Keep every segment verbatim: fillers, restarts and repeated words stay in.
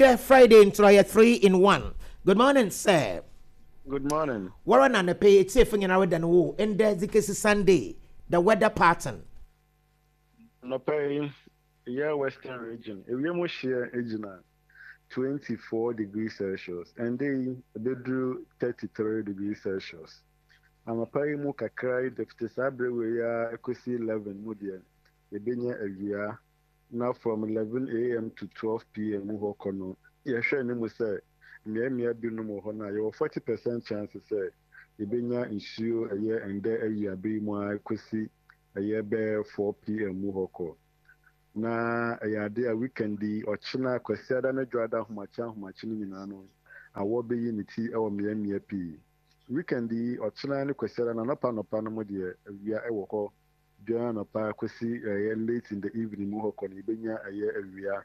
Ndɛ Friday nti ɔyɛ three in one. Good morning, sir. Good morning. Wɔrɔ na anɔpɛ yi etiefo nyinaa reda no wo ndɛ dze kesi Sunday, the weather pattern. Anɔpa yi, yɛ Western Region, ewiem hyeɛ gyina twenty four degrees Celsius. Ɛndɛ yi, ɛbɛduru thirty three degrees Celsius. Anɔpa yi mu kakra yi de fiti saa berɛ wei ara kɔsi eleven mu deɛ, yɛbɛnya awia. Na from eleven A M to twelve P M mu hɔ kɔ no, yɛhwɛ anim sɛ mmeammea binom wɔ hɔ no a, yɛwɔ forty percent chance sɛ yɛbɛnya nsuo, ɛyɛ ɛndɛ awiabere yi mu ara kɔsi ɛyɛ bɛyɛ four P M mu hɔ kɔ. Na ɛyɛ ade a weekend yi, ɔkyena Kwasiada ne Dwoada ahomakye ahomakye no nyinaa no, awɔ bɛyi ne ti wɔ mmeammea pii. Weekend yi, ɔkyena ne Kwasiada no anɔpa anɔpa no mu deɛ, awia wɔ hɔ. Dwoada anɔpa kɔsi ɛyɛ late in the evening mu hɔ kɔ no, yɛbɛnya ɛyɛ awia.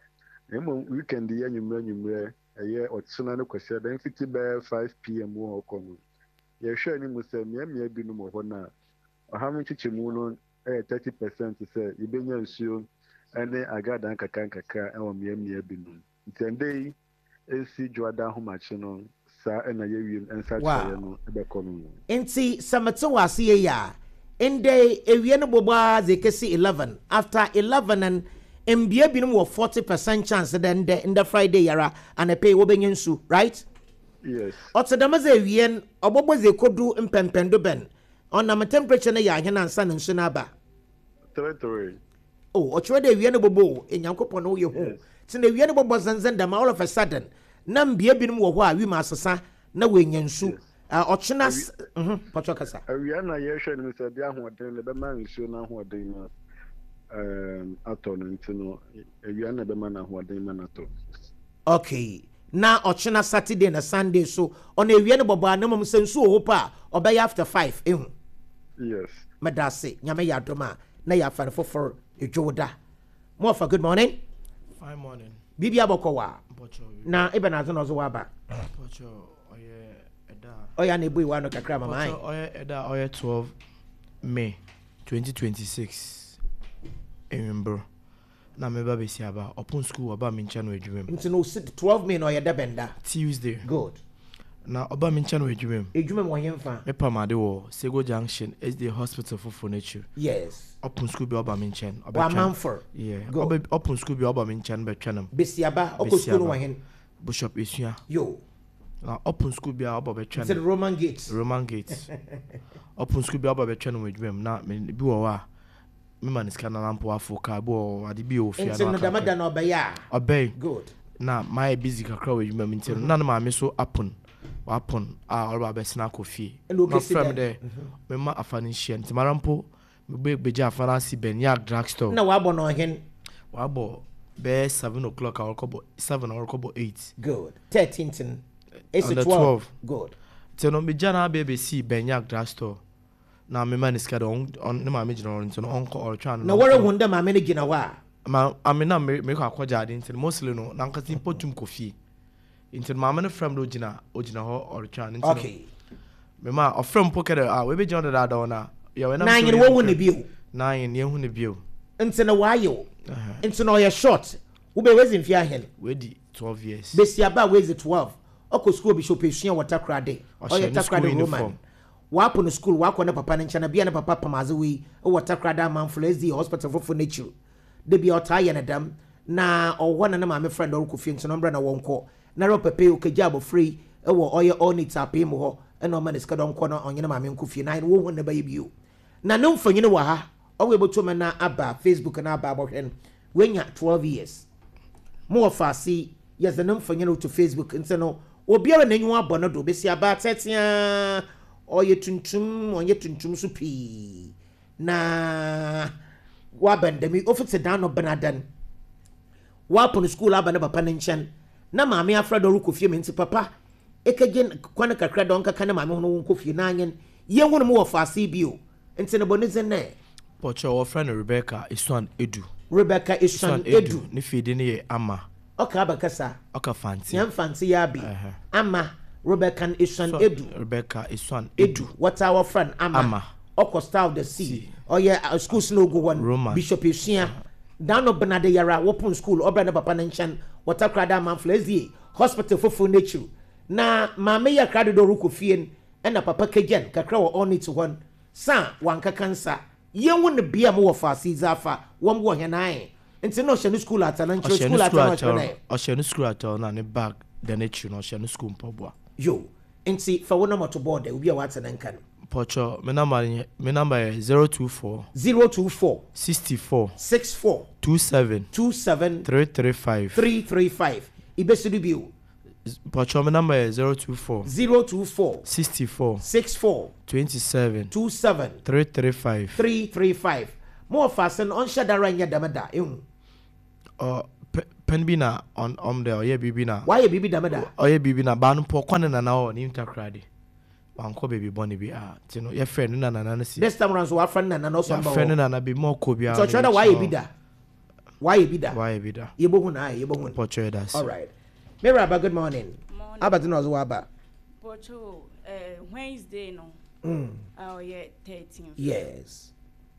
Na mmom weekend yi anwummerɛ anwummerɛ, ɛyɛ ɔkyena ne Kwasiada mfiti bɛyɛ five P M mu hɔ kɔ no, yɛhwɛ anim sɛ mmeammea binom wɔ hɔ no a, ɔha mu nkyekyɛmu no yɛ thirty percent sɛ yɛbɛnya nsuo ne agradaa nkakra nkakra wɔ mmeammea binom. Nti ɛndɛ yi esi Dwoada ahomakye no, saa ɛna yɛwiem nsakyerɛeɛ no bɛkɔ no. Nti sɛ mete wɔ ase yie a, ndɛ ewie no bɔbɔ ara dze kesi eleven. After eleven no, mbea binom wɔ forty percent chance dɛ ndɛ ndɛ Friday yara anɔpɛ yi wɔbɛnya nsu, right? Yes. Ɔte dɛm dze, ewie no ɔbɔbɔ dze ekodu mpɛmpɛndo bɛn? Ɔnam temperature no yɛ ahen ansa na nsu no aba? Three three. Oh, ɔkyerɛ dɛ ewia no bɔbɔ o, Enyankopɔn na woyɛ hu. Nti na ewia no bɔbɔ zɛnzɛn dɛm, all of a sudden na mbea binom wɔ hɔ a wim asesa na wɔanya nsu. Ɔkyena mhm pɔtɔ kasa. Awia na yɛhwɛ no sɛ ɛde ahoɔden no ɛbɛma nsuo no ahoɔden no um, atɔ no, nti no awia na ɛbɛma no ahoɔden ma no atɔ. Okay, na ɔkyena Saturday na Sunday so, ɔno ewia no bɔbɔ a, na mmom sɛ nsuo wɔ hɔ pa a, ɔbɛyɛ after five ehu? Yes. Meda ase. Nyame yɛ adom a, na yɛ afa no foforɔ edwoda mo ɔfa. Good morning. Fine morning. Biribi abɔkɔ wa na ebɛn adze na ɔdze waba? Mpɔkyɛ, ɔyɛ ɛda ɔyɛ ana ebue wa no kakra mama ayi. Mpɔkyɛ, ɔyɛ ɛda a ɔyɛ twelve May twenty twenty-six ewimbir na meba besi aba ɔpon school, ɔba me nkyɛn wɔ adwuma mu. Nti no si twelve May na ɔyɛ dɛbɛn da? Tuesday. Good. Na ɔba me nkyɛn wɔ adwuma mu. Edwuma mu ɔyɛ nfa? Mepam ade wɔ Sego Junction, S D A Hospital foforɔ n'akyiri. Yes ɔpon school bi, ɔba me nkyɛn. Wɔ amanfor? Yeah. Good. Ɔbɛ ɔpon school bi, ɔba me nkyɛn bɛtwɛn no. Besiaba ɔkɔ school no wɔ hen? Bishop Esua. Yo. Na ɔpon school bi a, ɔba bɛtwɛn. Nti Roman Gate. Roman Gate. Ɔpon school bi a, ɔba bɛtwɛn no wɔ adwuma mu, na me bi wɔ hɔ a mema ne sika na nampo afo kaa bi wɔ ade bi wɔ fie. Nti no dɛm da na ɔbɛyɛ a? Ɔbɛn. Good. Na mayɛ busy kakra wɔ adwuma mu, nti no na ne maame so apon, wapon a ɔreba abɛsena akɔ fie. Ɛna na okesi ɔfrɛ me dɛn? Dɛ mema afa no nhyia, nti mara mpo mebe begye afa no ase bɛn Drug Store. Na wabɔ no ɔhen? Wabɔ bɛyɛ seven o'clock a ɔrekɔbɔ seven a ɔrekɔbɔ eight. Good. Thirteenth no esi? On the twelve. twelve. Good. Nti no megya no abɛ bɛsi bɛn Drug Store na mema ne sika dɛ ɔn ɔn- ne maame gyina hɔ, nti no ɔnkɔ, ɔretwɛn no. Na wɔrehu dɛ maame no gyina hɔ a? Ma ame na me mekɔ akɔgye ade, nti no mostly no nankasa mpo tum kɔ fie, nti no maame no frɛ me dɛ ogyina ogyina hɔ ɔretwɛn no, nti no okay mema ɔfrɛ me mpo kɛ dɛ ah, webɛgyina hɔ dadaada hɔ na yɛwɔ na anyere wɔhu ne bio? Na anyere yɛhu ne bio. Nti no waayɛ o, nti na ɔyɛ short, wobɛ wezi mfe ahen? Wedi twelve years. Besiaba a wezi twelve, ɔkɔ school Bishop Esua wɔ Takoradi. Ɔhyɛ ɔyɛ ne school Takoradi Roman. Uniform. Wapo no school, wakɔ ne papa ne nkyɛn na bia ne papa pam adze wei wɔ Takoradi Amanfo S D A Hospital foforɔ n'akyiri de bia ɔtaa yɛ ne dɛm na ɔwɔ hɔ na ne maame frɛ no ɔrekɔ fie, nti no ɔmbrɛ na wɔnkɔ na ɛrɛ pɛpɛ okagya abɔfra yi wɔ ɔyɛ all neat apee mu hɔ, ɛna ɔma ne sika dɛ ɔnkɔ na ɔnye ne maame nkɔ fie na ayɛ no wɔhu ne bɛyɛ bio. Na ne mfonyin wɔ ha, ɔwɔ ebotum na aba Facebook na aba abɔhwɛ no. Wenya twelve years mo wɔ faase, yɛdze ne mfonyin to Facebook, nti no obiara n'enyiwa abɔ no do. Besi aba tɛtea, ɔyɛ tuntum, ɔnyɛ tuntum so pii na wabɛn dɛm ofiti dan no benadan wapono school aba ne papa ne nkyɛn na maame afra dɛ ɔrekɔ fie mi, nti papa ekegye kwan kakra dɛ ɔnkaka ne maame ho no wɔnkɔ fie na anyen yɛn no mu wɔ faase bio, nti ne bɔ ne dzin nɛ? Pɔkyɛ, wɔfrɛ no Rebecca Esuan Edu. Rebecca Esuan Edu. Ne fie din yɛ Ama. Ɔka abakasa? Ɔka Fante. Yɛn Fante yɛ abi. Ɛhɛ. Ama Rebecca Esuan Edu. Rebecca Esuan Edu, wɔtaa wɔfrɛ no Ama. Ama. Ɔkɔ Star of the Sea, ɔyɛ uh, school snow gu hɔ no. Roman. Bishop Esua dan no benade yara wɔpon school, ɔbrɛ ne papa ne nkyɛn Wɔtakra da amanfo S D A Hospital foforɔ n'ekyir na maame yɛ krado dɛ ɔrekɔ fie no, ɛna papa kagyan kakra wɔ ɔnit hɔ no sa wankaka nsa yɛnhu no bea mu wɔ faase dze afa wɔn wɔ hɛn ae nti na ɔhyɛ no school ata na nkyerɛ Ɔhyɛ school no ata school na ɔhyɛ atɔl. no. Ɔhyɛ no school atɔl na ne bag da n'akyi no, ɔhyɛ no school mpaboa. Yo, nti fa wo number to board obi a wate ne nka no. Pɔtɔ, me number yɛ me number yɛ zero two four zero two four sixty-four six four two seven two seven three three five. three three five. Ibesi do bio. Pɔtɔ, me number yɛ zero two four zero two four sixty-four six four twenty-seven two seven three three five. three three five. Mo wɔ faase no, ɔnhyɛ dara nyɛ dɛm da ehu. Ɔ pɛ pɛn bi na ɔn ɔm dɛ ɔyɛ biribi na wayɛ biribi dɛm da. Ɔyɛ biribi na baa no pɔ kɔ ne nana hɔ ne ntakoradi, wankɔ baabi bɔne bi a nti no yɛfrɛ ne nana no si. This time round so wafrɛ ne nana na ɔsɔ mba Yɛafrɛ ne hɔ. nana bi ma ɔkɔ biara. Nti ɔkyerɛ dɛ wayɛ bi da, wayɛ bi da. Wayɛ bi da. Yɛbɛhu na ayɛ, yɛbɛhu no. Pɔtɔ, yɛ da ase. All right, Mary Aba, good morning. Morning. Abadze na ɔdze waba. Pocho, eh, Wednesday no, mm. a ɔyɛ thirteen. Yes.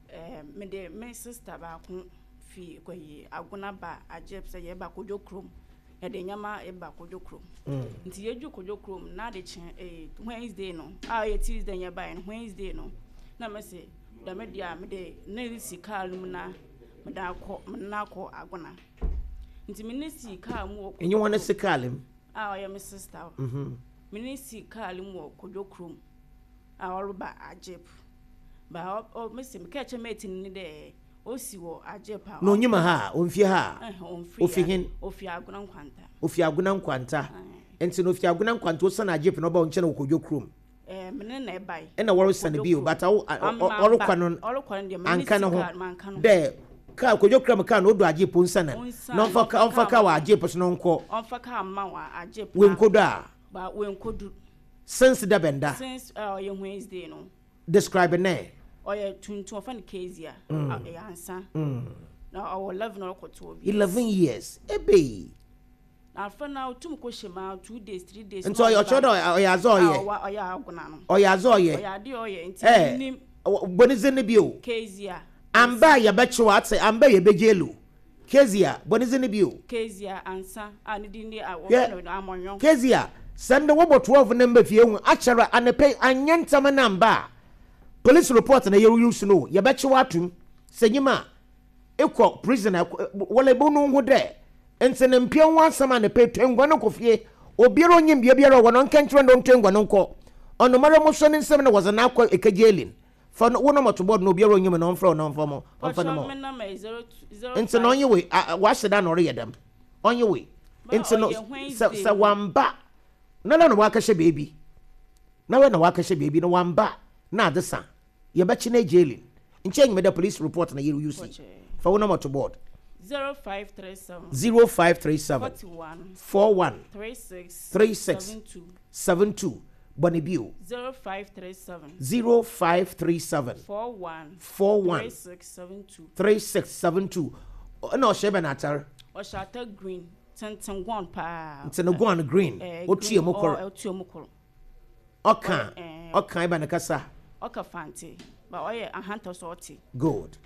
Eh, me de me sister baako fi kɔyi Agona ba agye sɛ yɛba Kodwo kurom. Yɛde nneɛma yɛba Kodwo kurom. mm. Nti yɛdwu Kodwo kurom na ade kye eh, Wednesday no, a ɔyɛ Tuesday yɛbaeɛ no, Wednesday no, na mese dɛm deɛ a mede ne si kaa no mu na mede akɔ mede no akɔ Agona. Nti me ne si kaa mu wɔ Ɛnyɛ wɔn si kaa mu? A ɔyɛ me sister. Mhm. Me ne si kaa mu wɔ Kodwo kurom a ɔreba Agyep ba ɔ ɔ mesi meka kyerɛ mate ni dɛ osi wɔ Agyep a Na onyim ha a ɔmfie ha a? Ɛhɛn, ɔmfiri Ofi ha. hen? Ofi Agona Nkwanta. Ofi Agona Nkwanta. Nti na ofi Agona Nkwanta osiane Agyep na ɔba wo nkyɛn wɔ Kodwo kurom? Ɛɛ, me ne na ɛbae. Ɛna wɔresane bio, but awo ɔrekɔ no Ɔrekɔ no deɛ, me ne anka ne si ho kaa manka no. Dɛ kaa Kodwo kurom kaa na odu Agyep nsane Onsane, na ɔmfa ka ɔmfa kaa wɔ Agyep so na ɔnkɔ. Ɔmfa kaa ma wɔ Agyep. Wenkodu a? Ba wenkodu. Since da bɛnda? Since uh, ɔyɛ Wednesday no. Describe ne. Ɔyɛ tuntum, ɔfa no Kezia. Mm. Ɛyɛ ansa mm. na ɔwɔ eleven, ɔrekɔ twelve years. Eleven years ebe. Na afɛ na otum kɔ hyɛ mu two days, three days. Nti ɔyɛ ɔkyerɛ dɛ ɔyɛ adze ɔyɛ. Ɔyɛ ɔyɛ Agona no. Ɔyɛ adze ɔyɛ. Ɔyɛ ade ɔyɛ nti ɛɛ nim. Bɔnidze ne bio. Kezia. Amba a yɛbɛkyew ate, amba a yɛbɛgye lo, Kezia, bɔnidze ne bio. Kezia Ansa a ne din de a Hwɛ. Wɔfrɛ no Amɔnyɔ. Kezia, sɛ ndɛ wɔbɔ twelve ne mba fie hu akyɛrɛ anapɛ anyɛ ntɛm na mba a, police report na yɛreyi so no, yɛbɛkyew atum sɛ nyima a ekɔ prison a wɔlɛ ebo no ho dɛ nti ne mpia ho asɛm anapɛ twa ngua no kɔ fie. Obiara onyim bea biara wɔ no nka nkyerɛ no ntwa ngua no nkɔ ɔnomara mo so ne nsɛm na wɔdze n'akɔ ekagye fa no wo nɔmɔ to board na obiara onyim no ɔmfrɛ wo na ɔmfa mo ɔmfa no Pɔtɔ, mo me number yɛ zero two zero Nti na ɔnye wei wahyɛ da na ɔreyɛ dɛm, ɔnye wei nti no ɔyɛ sɛ Wednesday sɛ no. wamba na na na wakɛhyɛ beebi na wɛ na wakɛhyɛ beebi na wamba na ade sa yɛbɛkye no jailin nkyɛn nyimɛ dɛ police report na yɛre use. Fa wo nɔmɔ to board. Zero five three seven zero five three seven forty one four one three six three six seven two. seven two. Bɔne bio. Zero five three seven zero five three seven four one four one three six seven two. three six seven two. Ɛna ɔhyɛ bɛ n'atar? Ɔhyɛ ata green tenten gɔn paa. Nti no gɔn green. Eh, otua green, mu kɔrɔ. ɔ- ɔtua mu koro. Ɔka Eh. ɔka ɛbɛ ne kasa? Ɔka Fante ba, ɔyɛ ahanta so ɔte. Good.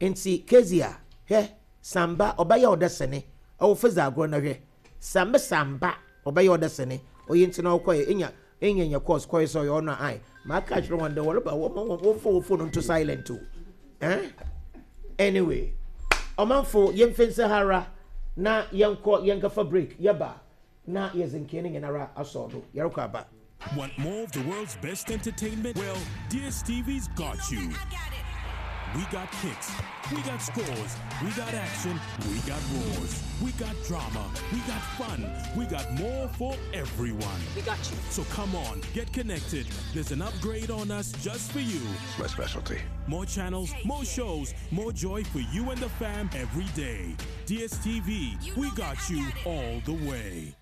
Nti Kezia, hwɛ, samba ɔbɛyɛ ɔdɛ sene ɔwɔ fɛdze agorɔ na hwɛ samba samba ɔbɛyɛ ɔdɛ sene ɔyɛ nti na ɔkɔyɛ enya enya nya course kɔyɛ sɛ ɔyɛ ɔno ayi maa ka kyerɛ wɔn dɛ wɔreba wɔn wɔn wɔn fo wɔn phone nto silent o. Eh, anyway, ɔmanfo, yɛmfɛ nsa hara na yɛnkɔ yɛnkafa break, yɛba na yɛdze nkee ne nyinara asɔ do, yɛrekɔ aba. Want more of the world's best entertainment? Well, D S T V's got you. We got kicks, we got scores, we got action, we got roars, we got drama, we got fun, we got more for everyone. We got you. So come on, get connected. There's an upgrade on us just for you. It's my specialty. More channels, more shows, more joy for you and the fam every day. D S T V, we got you all the way.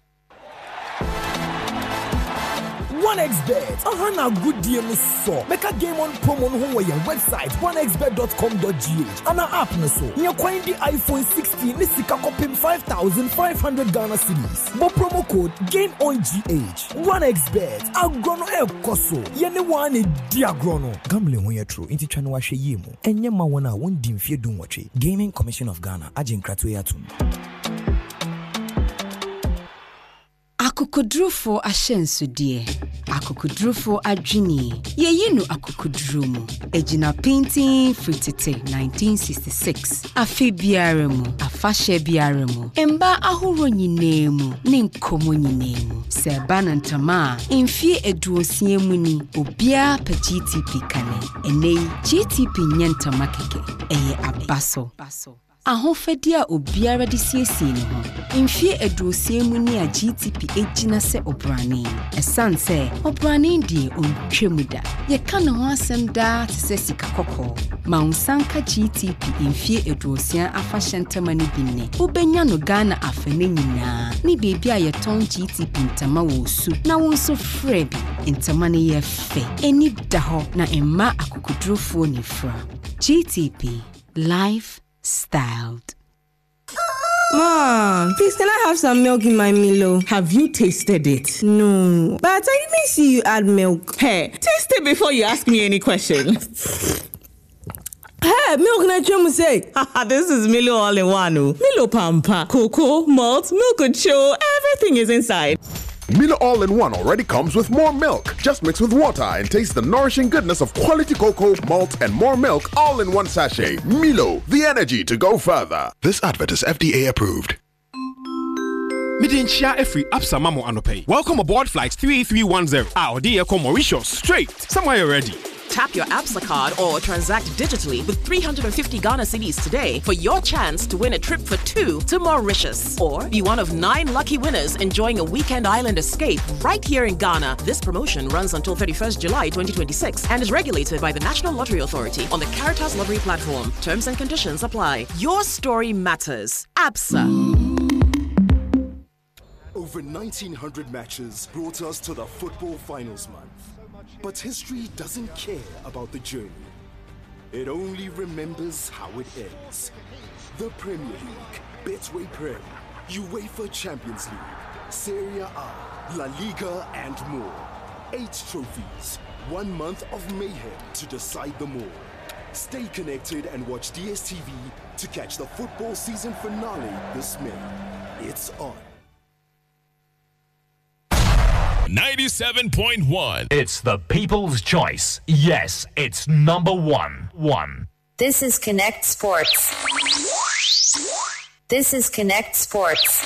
one X Bet aha na agodie no sɔ bɛka Game On promo no ho wɔ yɛn website one x bet dot com dot G H ana app no so nyɛ kwan di iPhone sixteen ne sika kɔpem five thousand five hundred Ghana cedis. Bɔ promo code Game On G H. one X Bet, agorɔ no ɛrekɔ so, yɛne wɔn a na ɛdi agorɔ no. Gambling ho yɛ toro nti twa no wahwɛ yie mu. Ɛnyɛ ma wɔn a wɔndi mfeɛ dunwɔtwe. Gaming Commission of Ghana agye nkratoɔ yi atom. Akokodurufoɔ ahyɛnsodeɛ, akokodurufoɔ adwene, yɛyi no akokoduro mu. Egyina pintin firi tete nineteen sixty-six. Afe biara mu, afahyɛ biara mu, mmaa ahorow nyinaa mu ne nkɔmmɔ nyinaa mu. Sɛ ɛba no ntama a, mfie aduosia mu ni, obiara pɛ G T P kane. Ɛnnɛ yi, G T P nyɛ ntama kɛkɛ, ɛyɛ aba so. Ahofadi a obiara de siesie ne ho. Mfie aduosia mu ni a G T P gyina sɛ ɔbrane. Ɛsiane sɛ ɔbrane deɛ ɔntwa mu da. Yɛka ne ho asɛm daa te sɛ sika kɔkɔɔ. Ma wo nsa nka G T P mfie aduosia afahyɛ ntama no bi nnɛ. Wobɛnya no Ghana afa no nyinaa ne beebi a yɛtɔn G T P ntama wɔ osu na wo nso frɛ bi. Ntama no yɛ fɛ, ani da hɔ na mma akokodurofoɔ ne fira. G T P, life styled. Mom, please, can I have some milk in my Milo? Have you tasted it? No, but I didn't see you add milk. Hey, taste it before you ask me any questions. Hey, milk na twem say. This is Milo all in one. Oh. Milo Pampa, cocoa, malt, milk and show, everything is inside. Milo All in One already comes with more milk. Just mix with water and taste the nourishing goodness of quality cocoa, malt, and more milk all in one sachet. Milo, the energy to go further. This advert is F D A approved. Mede nkyia afiri Absa ma mo anɔpa yi. Welcome aboard flight three three one zero a ɔde yɛ kɔ Mauritius straight. Somewhere you're ready. Tap your Absa card or transact digitally with three hundred fifty Ghana cedis today for your chance to win a trip for two to Mauritius. Or be one of nine lucky winners enjoying a weekend island escape right here in Ghana. This promotion runs until thirty-first July twenty twenty-six and is regulated by the National Lottery Authority on the Caritas Lottery platform. Terms and conditions apply. Your story matters. Absa. Over nineteen hundred matches brought us to the football finals month. But history doesn't care about the journey. It only remembers how it ends. The Premier League, Betway Prem, UEFA Champions League, Serie A, La Liga, and more. Eight trophies, one month of mayhem to decide them all. Stay connected and watch D S T V to catch the football season finale this May. It's on. ninety-seven point one. It's the people's choice. Yes, it's number one. One. This is Connect Sports. This is Connect Sports.